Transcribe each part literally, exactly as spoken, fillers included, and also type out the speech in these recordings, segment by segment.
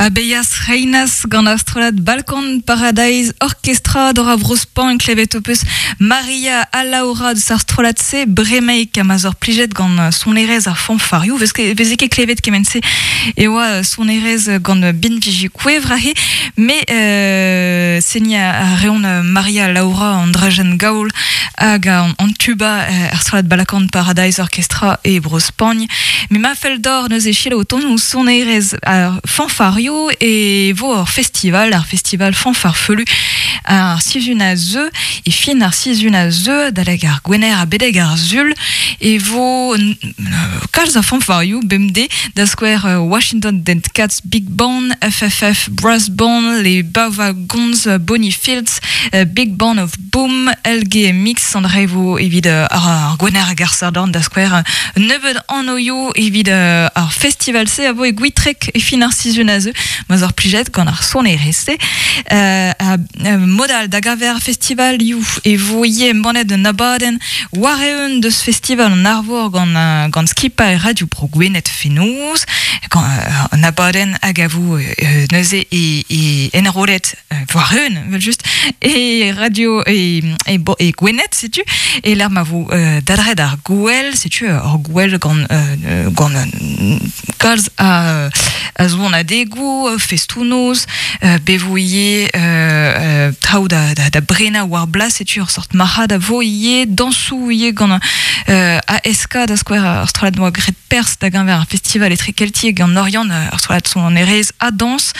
Abeias Reinas gant ar strollad Balkan Paradise Orchestra dor a Vrospan klevet o peus Maria ha Laura deus ar strollad-se bremaik ha ma zor plijet gant sonerezh ar fanfarioù vez ket veze ket klevet kement-se e oa sonerezh gant binviji kouevr aze me euh, seni a reont Maria Laura an drajen gaol hag an, an tuba ar strollad Balkan Paradise Orchestra e Bro-Spagn me ma fell d'or neuze selaou o ton ouzh sonerezh ar fanfarioù e vo ur festival, ar festival fanfar feulu ar sizhun a zeu e fin ar sizhun a zeu daleg ar gwener a bedeg ar zul e vo kalz a fanfarioù bemdez da skouer Washington Dead Cats Big Band, F F F Brass Band, les Bava Gonz, Bonnie Fields, Big Band of Boom, L G M X, an vo evit ar gwener hag ar sardorn da skouer nebeud an oio evit ar festival se a vo e gwitrek e fin ar sizhun a zeu ma zor plijet gant ar sonerezh-se. Euh, a, euh, modal da gaver festival ioù e vo ivez embannet un abadenn war eeun deus festival an Arvor gant, euh, gant skipailh Radio Bro Gwened fenoz, gant, euh, an abadenn hag a vo, euh, neuze e, e enrolet, euh, war eeun, evel just, e radio e, e, bo, e Gwened, setu, e l'ar ma vo, euh, dadred ar gouel, setu ur gouel gant, euh, gant, euh, kalz a, a zo an adegoù, festoù-noz, euh, bevo ivez, euh, euh, traoù da, da, da brena war blas, setu ur sort marc'had a vo ivez, dañsoù ivez gant, euh, A S K da skouer ar strollad noa graet pers da geñver ar festival etre keltiek gant Oriant, ar strollad sonerezh a dañs.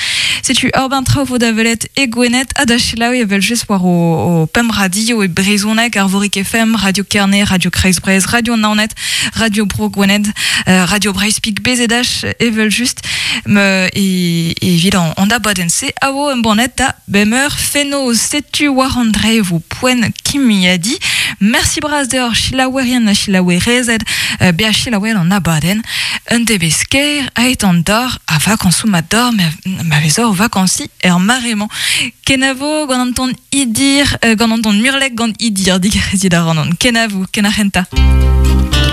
Setu ur ben traoù vo da welet e Gwened ha da selaou evel just war o, o pemp radio e brezhoneg, Arvorig F M, Radio Kerne, Radio Kreiz Breizh, Radio Naoned, Radio Bro Gwened, euh, Radio Breizh Pik B Z H evel just, me, e, evit an, an abadenn-se a vo embannet da bemeur fenoz. Setu war an dre vo poent kimiadi. Merci bras deoc'h selaouerien ha selaouerezed, euh, bezañ selaouet an abadenn. Un debez ker aet an dor a vakañsoù ma dor, ma, ma vezor vakansi er maremañ. Kenavo gant an ton idir, euh, gant an ton murlek gant idir, digarezit ar an an. Kenavo, kenarenta.